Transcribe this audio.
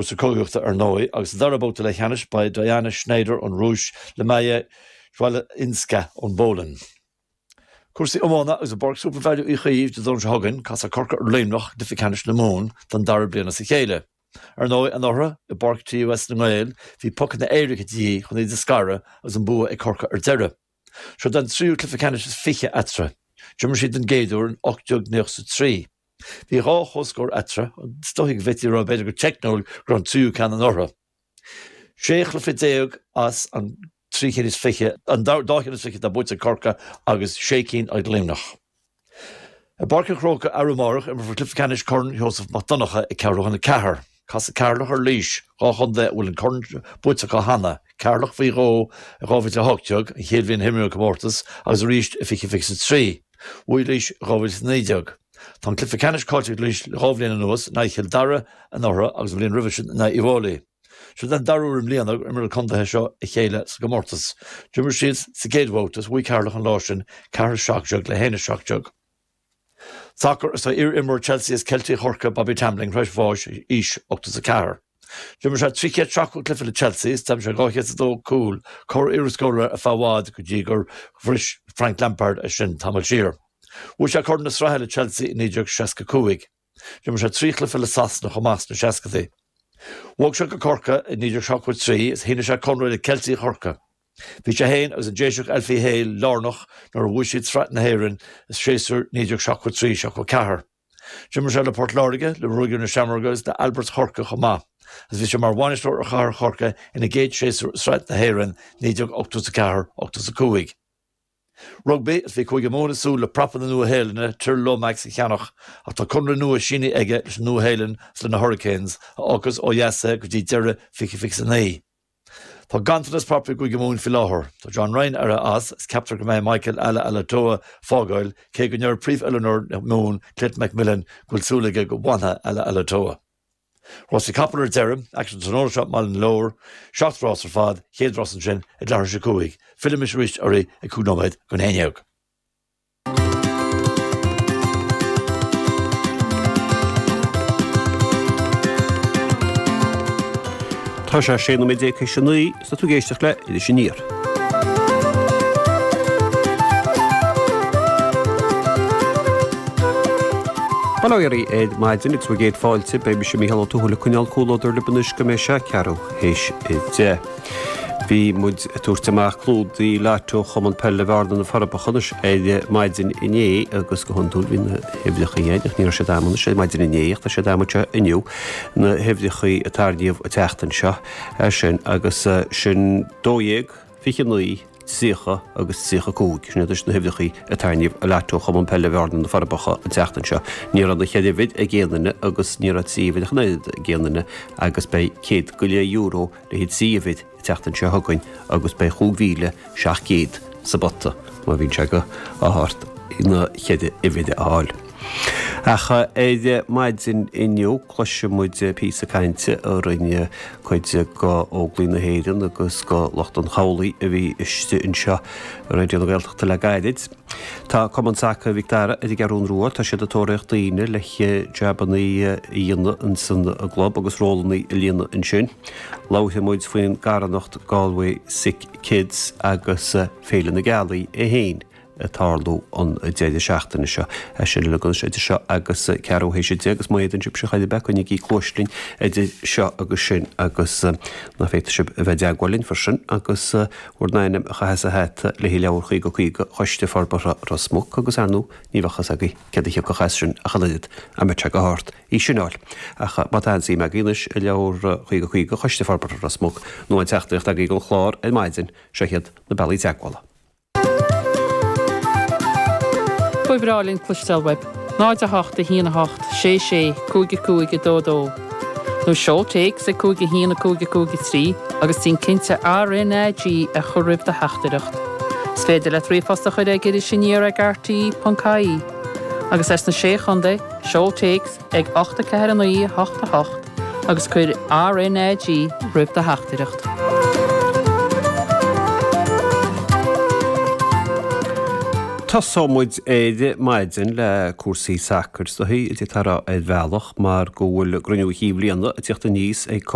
Cúrsaí cogaíochta ar ndóigh, agus sa dara babhta leathcheannais beidh Diana Shnaider ón Rúis le Maja Chwalinska ón bPolainn. Cúrsaí iomána agus i bPáirc Supervalu Uí Chaoimh Dé Domhnaigh seo chugainn, casfaidh Corcaigh ar Luimneach i gcluiche ceannais na Mumhan don dara bliain as a chéile. Ar ndóigh, anuraidh, i bPáirc TUS na nGael, bhí pocanna éirice de dhíth chun iad a scaradh agus an bua ag Corcaigh ar deireadh. Seo an tríú cluiche ceannais is 20 eatarthu. D'imir siad den gcéad uair in 1893. Bhí dhá chomhscór eatarthu, is dóichí go bhféadfaí a rá b'fhéidir go teicniúil go raibh an tríú ceann anuraidh. 16 chluiche as an 320, an dá cheann is fiche atá buaite ag Corcaigh agus sé cinn ag Luimneach. I bPáirc an Chrócaigh arú amárach, imreofar cluiche ceannais Chorn Sheosamh Mac Donncha ag ceathrú chun a ceathair. Casfaidh Ceatharlach ar Laois, dhá chontae a bhfuil an corn buaite acu cheana, Ceatharlach faoi dhó i 2018, an chéad bhliain a himríodh an comórtas, agus arís i 2023. Bhuaigh Laois i 2019. Tá an cluiche ceannais caillte ag Laois le dhá bhliain anuas, in aghaidh Chill Dara anuraidh agus an bhliain roimhe sin in aghaidh Uíbh Fhailí. Seo den dara huair i mbliana gur imir na contaetha seo a chéile sa gcomórtas. D'imir siad sa gcéad bhabhta agus bhuaigh Ceatharlach an lá sin, 4-17 le 1-17. Sacar Is tá iar-imreoir Chelsea is Ceiltigh Chorcaí Bobby Tambling tar éis bháis ag aois 84. D'imir sé 370 cluiche le Chelsea is d'aimsigh sé 202 cúl, cóir iarscórálaí ar feadh i bhfad go dtí gur bhris Frank Lampard é sin tamall siar. Bhuaigh sé Corn na Sraithe le Chelsea i 1965. D'imir sé trí chluiche le Sasana chomh maith sna seascadaí. Bhog sé go Corcaigh i 1973 is shínigh sé conradh le Ceiltigh Chorcaí. Bhí sé féin agus an Déiseach Alfie Hale lárnach nuair a bhuaigh siad Sraith na hÉireann i séasúr 1973, 74. D'imir sé le Port Láirge, le Ruagairí na Seamróige agus le Alberts Chorcaí chomh maith, agus bhí sé mar bhainisteoir ar Chathair Chorcaí ina gcéad séasúr i Sraith na hÉireann 1984, 85. Rugbaí, Is bhí Cúige Mumhan ag súil le prapa na Nua-Shéalainne, Tyrell Lomax a cheannach ach tá conradh nua sínithe aige leis an Nua-Shéalainn is le na Hurricanes, a fhágfas ó dheas é go dtí deireadh 2029. Tá ganntanas prapaí i gCúige Mumhan faoi láthair. Tá John Ryan éirithe as agus ceaptar go mbeidh Michael Alaalatoa ag fágáil, cé go ndeir príomh-oiliúnóir na Mumhan, Clayton McMillan, go bhfuil súil aige go bhfanfaidh Alaalatoa. Rásaí capall ar deireadh, aicsean tráthnóna seo i mBaile na Lobhar, 7 rás ar fad, chéad rás ansin ag leathuair tar éis a 5. Fillfimis arís oraibh ag 5 nóiméad don 11. Tá sé 16 nóiméad théis a 9 is tá tú ag éisteacht le Iris Aniar. Bail ó Dhia oraibh ar maidin agus bhur gcéad fáilte, beidh mise Mícheál Ó Tuathail ag coinneáil comhluadar libh anois go mbeidh sé ceathrú théis a 10. Bhí muid ag tabhairt amach clúdaigh Lotto Chumann Peile Bhearna na Forbacha anois ar maidin inné agus go hiondúil bhí na huimhreacha againn ach ní raibh siad a'm anois ar maidin inné ach tá siad a'm anseo inniu, na huimhreacha a tarraingíodh an tseachtain seo sin agus sin 12, 29, 30 agus 35. Sin iad anois na huimhreacha a tarraingíodh i Lotto Chumann Peile Bhearna na Forbacha an tseachtain seo. Ní raibh na cheithre uimhir ag aon duine agus ní raibh trí uimhir ach an oiread ag aon duine agus beidh €100.50 le haghaidh 3 uimhir an tseachtain seo chugainn agus beidh 5,700 sa bpota má bhíonn sé go ádh ort na cheithre uimhir a fháil. Ach ar maidin inniu cloisfidh muid píosa cainte a rinne cuid de Óglaigh na hÉireann agus de lucht an chabhlaigh a bhí istigh anseo i Raidió na Gaeltachta le gairid. Tá Cumann Sacair Mhic Dara ar an gCeathrún Rua, tá siad ag tóraíocht daoine le jabannaí a dhéanamh insan gclub agus rólannaí a líonadh ansin. Labharfaidh muid faoin gcarthanacht Galway Sick Kids agus Féile na Gealaí é féin ag tarlú an deireadh seachtaine seo. É sin uilig anois idir seo agus ceathrú théis a 10 agus má fhéadann sibhse chor ar bith coinnígí cluais linn idir seo agus sin agus ná féadfaidh sibh a bheith i dteagmháil linn freisin agus bhur n-ainm a chaitheamh sa hata le haghaidh leabhar 50 50 Choiste Forbartha Ros Muc agus ar ndóigh ní bheadh fhios agaibh céard a thiocfadh as sin ach an oiread dá mbeadh sé go hort í sin fháil. Ach má tá aon suim agaibh anois i leabhar 50 50 Choiste Forbartha Ros Muc nó aon teachtaireacht agaibh don chlár ar maidin, seo iad na bealaí teagmhála. Ba bhreá linn cloisteáil uaibh. 0 8 1 8 6 6 5 5 2 2 Nó seol téacs ag 5 1 5 5 3 agus déan cinnte RnaG a chur roimh do theachtaireacht. Is féidir leat ríomhphost a chur ag irisaniar ag rte.ie. Agus as na Sé Chontae, seol téacs ag 8 4 9 8 8 agus cuir RnaG roimh do theachtaireacht. Tosóidh muid ar maidin le cúrsaí sacair is dóichí, a d'fhéadfá a rá ar bhealach mar go bhfuil cruinniú chinn bhliana ag tíocht aníos ag.